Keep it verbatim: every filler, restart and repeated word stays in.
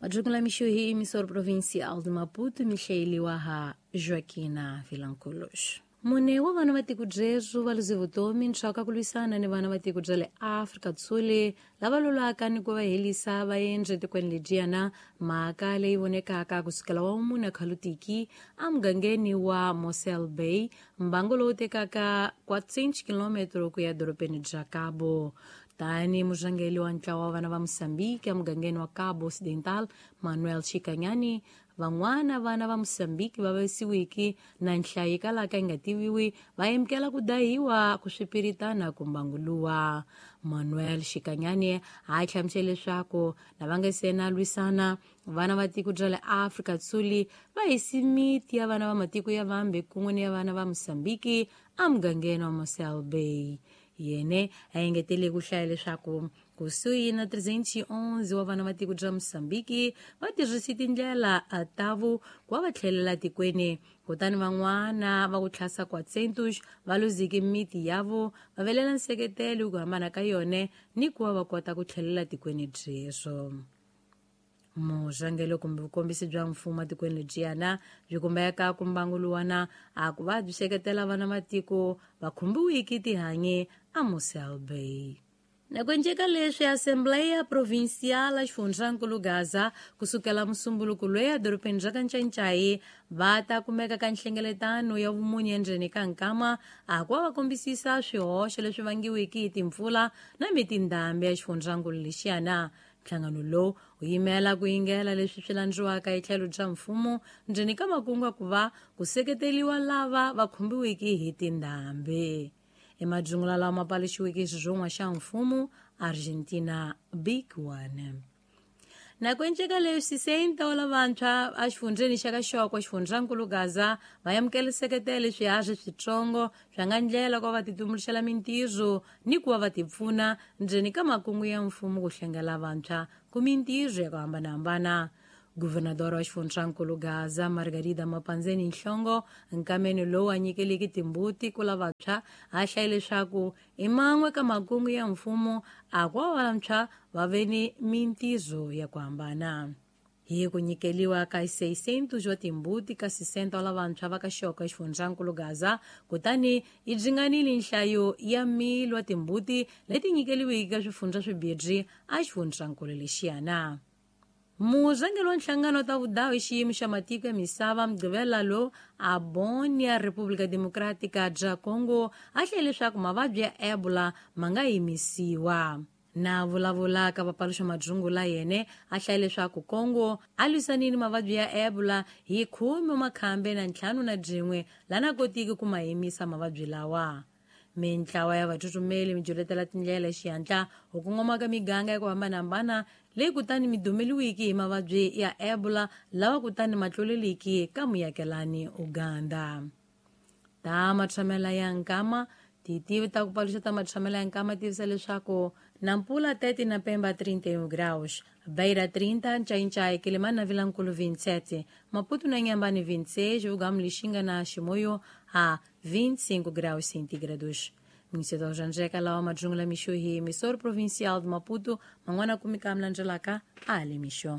Majungula mixo hi emissor provincial de Maputo, mihlayeliwa ha Joaquina Vilanculos. Mune wa vana va tiko byebyo va luze vutomi ntswaka ku lwisana ni vana va tiko bya le Afrika Dzonga lava lolaka ni ku va helisa vaendzi etikweni ledyiyana, mhaka leyi vonekaka kusukela wa mune khalutiki emugangeni wa Mossel Bay, mbango lowu tekaka quatrocentos kilometro ku ya dorobeni bya Cabo. Tani murhangeri wa ntlawa wa vana va Mozambique emugangeni wa Cabo Occidental, Manuel Chikanyani, van'wana vana va Mozambique va vasiwiki na nhlayo yi kalaka yi nga tiviwi va amukela ku dahiwa ku swipiritana ku mbanguluwa. Manuel Chikanyani a hlamusela leswaku lava nga se na lwisana vana va tiko bya le Afrika Dzonga va hisi miti ya vana va matiko ya vambe kun'we ni ya vana va Mozambique emugangeni wa Mossel Bay. Yene a engetele ku hlaya leswaku kusuhi na trezentos e onze wa vana va tiko bya Mozambique va tirhise tindlela tavu ku va va tlhelela tikweni, kutani van'wana va ku tlhasa quatrocentos va luzike miti yavo va velela nseketelo ku hambana ka yona ni ku va va kota ku tlhelela tikweni byeswo. Murhangeri kumbe vukombisi bya mfumo etikweni ledyiyana byi kumbeka ku mbanguluwana a ku va byi seketela vana matiko va khumbiwiki tihanyi a Mossel Bay. Nakuenceka leswi Assembleia Provincial ya Xifundzankulu Gaza kusukela musumbuluko loyi edorobeni ra Kanchanchayi va ta kumeka ka nhlengeletano ya vumunye endzeni ka nkama a ku va va kombisisa swihoxo leswi vangiwiki hi timpfula na mitindhambi ya xifundzankulu lexiyana. Nhlangano lowu wu yimela ku yingela leswi swi landziwaka hi tlhelo bya mfumo ndzeni ka makungu ku va ku seketeriwa lava va khumbiwiki hi tindhambi. Emajungula lawa ma paluxiweke hi xirhongwa xa mfumo Argentina Big One. Nakuenceka leswi sesenta wa lavantshwa exifundzheni xa Kaxoko xifundzankulu Gaza va amukela seketelo swiharhi switsongo swa nga ndlela ku va va titumbuluxela mintirho ni ku va va tipfuna ndzeni ka makungu ya mfumo ku hlengela vantshwa ku mintirho ya ku hambanahambana. Governador wa xifundzankulu Gaza Margarida Mapanzeni Nhlongo nkameni lowu a nyikeleke timbuti ku lavantshwa a hlaye leswaku i man'we ka makungu ya mfumo a ku va vantshwa va ve ni mintirho ya ku hambana. Hi ku nyikeliwa ka seiscentos wa timbuti ka sessenta wa lavantshwa va ka Xoko xifundzankulu Gaza, kutani yi dzinganile nhlayo ya mil wa timbuti leti nyikeliweke ka swifundza swimbirhi a xifundzankulu lexiyana. Murhangeri wa nhlangano ta vudawu hi xiyimo xa matiko ya misava Mugqivela lowu a Bonia República Democrática bya Congo a hlaye leswaku mavabyi ya Ebola ma nga yimisiwa. Na vulavulaka vapaluxa majungula yene a hlaye leswaku Congo a lwisanile mavabyi ya Ebola hi khume makhambe na ntlhanu na byin'we lana kotiki ku ma yimisa mavabyi lawa. Mintlawa ya vathuthumeli mi juletela tindlela xihatla ku kongoma ka miganga ya ku hambanahambana leyi kutani mi dumeliwiki hi mavabyi ya Ebola lawa kutani ma tluleliki ka muyakelani Uganda. Ta matshamela ya nkama titivi ta ku paluxa ta matshamela ya nkama tivisa leswaku Nampula tete na Pemba trinta e um graus, Beira trinta, Nchainchai, Quelimane na Vilanculo vinte e sete, Maputo na Inhambane vinte e seis, Ugamu Lixinga na Chimoio a vinte e cinco graus centígrados. Ministro Janjeca Laoma Jungla Michuhi, emissor provincial de Maputo, Mangwana Kumika Mlanjelaka, Ali Micho.